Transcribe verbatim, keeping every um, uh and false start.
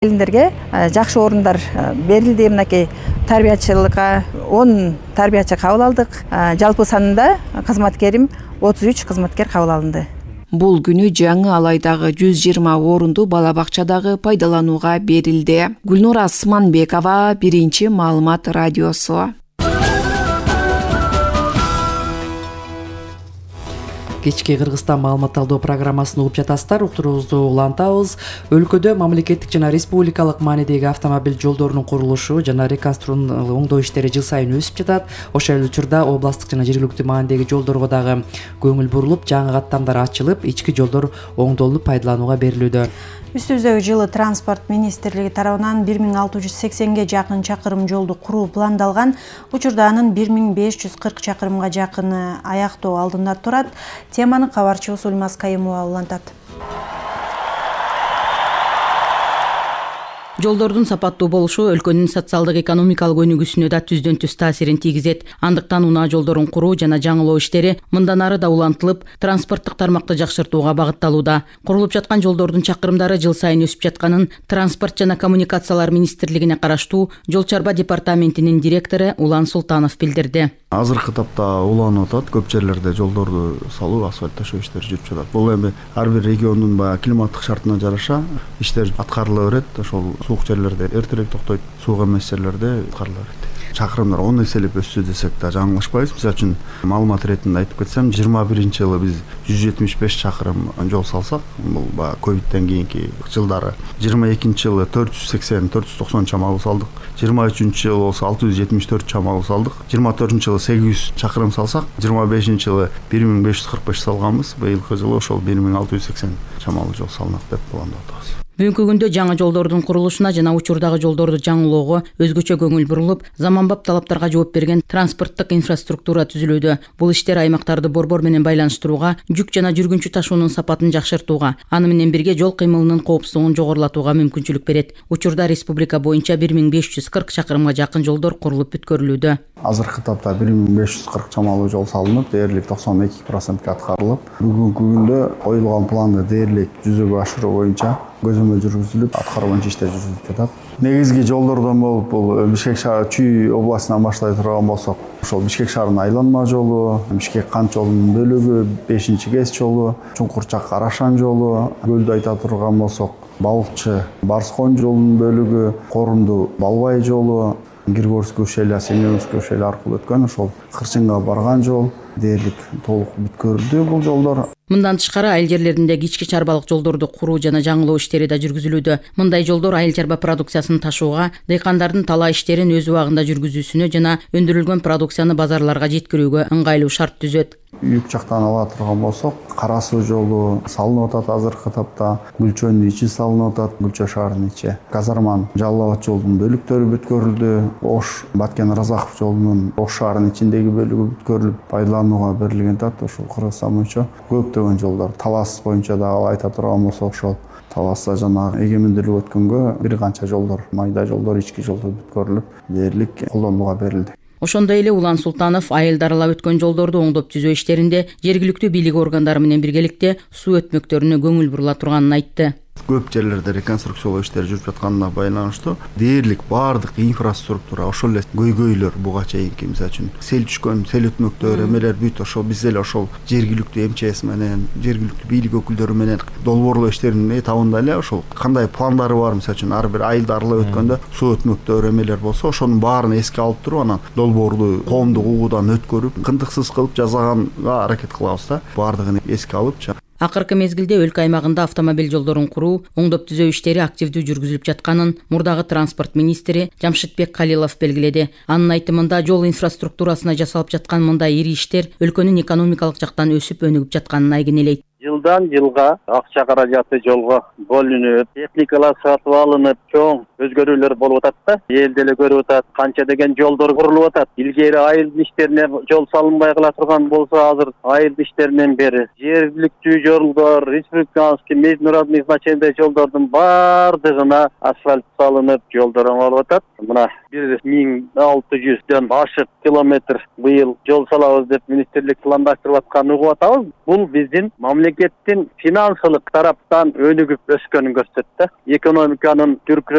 Келиндерге жакшы орундар берилди. Мынакей тарбиячылыкка он тарбиячы кабыл алдык. Жалпы санында кызматкерим отуз үч кызматкер кабыл алынды. Бул күнү жаңы Алайдагы жүз жыйырма орунду бала бакчадагы пайдаланууга берилди. Гүлнура Сманбекова, Биринчи маалымат радиосу. Кечки Кыргызстан маалымат алуу программасын угуп жатасыздар. Уктуруубузду улантабыз. Өлкөдө мамлекеттик жана республикалык маанидеги автомобиль жолдорунун курулушу жана реконструкциялоо оңдоо иштери жыл сайын өсүп жатат. Ошол эле учурда областтык жана жергиликтүү маанидеги жолдорго дагы көңүл бурулуп, жаңы каттамдар ачылып, ички жолдор оңдолуп пайдаланууга берилүүдө. Үстүбүздөгү жылы транспорт министрлиги тарабынан бир миң алты жүз сексенге жакын чакырым жолду куруу пландалган. Учурда анын бир миң беш жүз кырк чакырымга жакыны аяктоо алдында турат. Теманы кабарчыбыз Ульмаз Кайымова улантат. Жолдордун сапаттуу болушу өлкөнүн социалдык экономикалык өнүгүүсүнө да түздөн түз таасирин тийгизет. Андыктан унаа жолдорун куруу жана жаңылоо иштери мындан ары да улантылып, транспорттук тармакты жакшыртууга багытталууда. Курулуп жаткан жолдордун чакырымдары жыл сайын өсүп жатканын Транспорт жана коммуникациялар министрлигине караштуу Жол чарба департаментинин директору Улан Султанов билдирди. Азыркы тапта уланып атат, көп жерлерде жолдорду салуу, асфальт ташоо иштери жүрүп жатат. Бул эми ар бир региондун баягы климаттык шартына жараша иштер аткарыла берет. Ошол суук жерлерде эртерээк токтойт, суук эмес жерлерде аткарыла берет. Чакырымдар он эселеп өссө десек да жаңылышпайбыз. Мисалы үчүн маалымат иретинде айтып кетсем, жыйырма биринчи жылы биз жүз жетимиш беш чакырым жол салсак, бул баягы ковидтен кийинки жылдары. жыйырма экинчи жылы төрт жүз сексен төрт жүз токсон чамалуу салдык. жыйырма үчүнчү жылы болсо алты жүз жетимиш төрт чамалуу салдык. жыйырма төртүнчү жылы сегиз жүз чакырым салсак, жыйырма бешинчи жылы бир миң беш жүз кырк беш салганбыз. Быйылкы жылы ошол бир миң алты жүз сексен чамалуу жол салынат деп пландап атабыз. Бүгүнкү күндө жаңы жолдордун курулушуна жана учурдагы жолдорду жаңылоого өзгөчө көңүл бурулуп, заманбап талаптарга жооп берген транспорттук инфраструктура түзүлүүдө. Бул иштер аймактарды борбор менен байланыштырууга, жүк жана жүргүнчү ташуунун сапатын жакшыртууга, аны менен бирге жол кыймылынын коопсуздугун жогорулатууга мүмкүнчүлүк берет. Учурда республика боюнча бир миң беш жүз кырк чакырымга жакын жолдор курулуп бүткөрүлүүдө. Азыркы тапта бир миң беш жүз кырк чамалуу жол салынып, дээрлик токсон эки процентке аткарылып, бүгүнкү күндө коюлган планды дээрлик жүзөгө ашыруу боюнча көзөмөл жүргүзүлүп, аткаруу боюнча иштер жүрүлүп жатат. Негизги жолдордон болуп, бул Бишкек шаар Чүй областынан баштай турган болсок, ошол Бишкек шаарынын айланма жолу, Бишкек кант жолунун бөлүгү, бешинчи КЭС жолу, Чуңкурчак Карашан жолу, Көлдү айта турган болсок, Балыкчы Барскон жолунун бөлүгү, Корунду Балбай жолу, Киргорский ушеля, Семеновский ушеля аркылуу өткөн ошол Кырчынга барган жол дээрлик толук бүткөрүлдү бул жолдор. Мындан тышкары айыл жерлериндеги ички чарбалык жолдорду куруу жана жаңылоо иштери да жүргүзүлүүдө. Мындай жолдор айыл чарба продукциясын ташууга, дыйкандардын талаа иштерин өз убагында жүргүзүүсүнө жана өндүрүлгөн продукцияны базарларга жеткирүүгө ыңгайлуу шарт түзөт. Юк жактан ала турган болсок, Кара суу жолу салынып атат азыркы тапта, Гүлчөнүн ичи салынып атат, Гүлчө шаарынын ичи. Казарман Жалал Абад жолунун бөлүктөрү бүткөрүлдү. Ош Баткен Разаков жолунун Ош шаарынын ичиндеги бөлүгү бүткөрүлүп, пайдаланууга берилген тат. Ошол Кыргызстан боюнча көптөгөн жолдор. Талас боюнча дагы айта турган болсок, ошол Таласта жана эгемендүүлүк өткөнгө бир канча жолдор, майда жолдор, ички жолдор бүткөрүлүп, дээрлик колдонууга берилди. Ошондой эле Улан Султанов айылды аралап өткөн жолдорду оңдоп түзөө иштеринде жергиликтүү бийлик органдары менен биргеликте суу өтмөктөрүнө көңүл бурула турганын айтты. Көп жерлерде реконструкциялоо иштери жүрүп жатканына байланыштуу дээрлик баардык инфраструктура, ошол эле көйгөйлөр буга чейинки, мисалы үчүн сел түшкөн, сел өтмөктөр, эмелер бүт ошол биз эле ошол жергиликтүү эм че эс менен, жергиликтүү бийлик өкүлдөрү менен долбоорлоо иштеринин этабында эле ошол кандай пландары бар, мисалы үчүн ар бир айылды аралап өткөндө суу өтмөктөр, эмелер болсо, ошонун баарын эске алып туруп, анан долбоорлуу коомдук угуудан өткөрүп, кындыксыз кылып жасаганга аракет кылабыз да. Баардыгын эске алып. Акыркы мезгилде өлкө аймагында автомобиль жолдорун куруу, оңдоп түзөө иштери активдүү жүргүзүлүп жатканын мурдагы транспорт министри Жамшитбек Калилов белгиледи. Анын айтымында жол инфраструктурасына жасалып жаткан мындай ири иштер өлкөнүн экономикалык жактан өсүп өнүгүп жатканын айгинелейт. Жылдан жылга акча каражаты жолго бөлүнүп, техникалар сатып алынып, чоң өзгөрүүлөр болуп атат да. Эл деле көрүп атат, канча деген жолдор курулуп атат. Илгери айыл иштерине жол салынбай кала турган болсо, азыр айыл иштеринен бери жергиликтүү жолдор, республиканский международный значениедеги жолдордун баардыгына асфальт салынып, жолдор оңолуп атат. Мына бир миң алты жүздөн ашык километр быйыл жол салабыз деп министрлик пландаштырып атканын угуп атабыз. Бул биздин мамлекеттик мамлекеттин финансылык тараптан өнүгүп өскөнүн көрсөттү. Экономиканын дүркүрөп